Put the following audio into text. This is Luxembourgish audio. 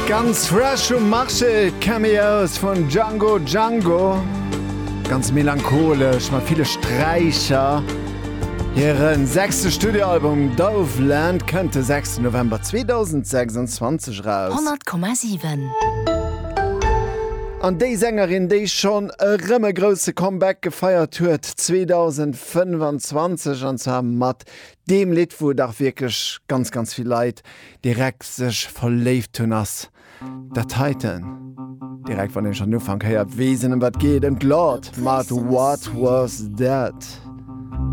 Ganz fresh um Marché, Cameos vun Django Django. Ganz melancholesch mat ville Sträicher. Hiren sechste Studioalbum Doveland kënnt de 6 November 2026 eraus. 100,7. An déi Sängerin, déi schonn erëm e grousse Comeback gefeiert huet 2025, an zwar mat deem Lidd, wou dach wierklech ganz, ganz vill Leit direkt sech verléift hunn, ass dat heiten. Direkt wann een schonn den Ufank héiert, weess een ëm wat geet, ëm d'Lorde mat What Was That.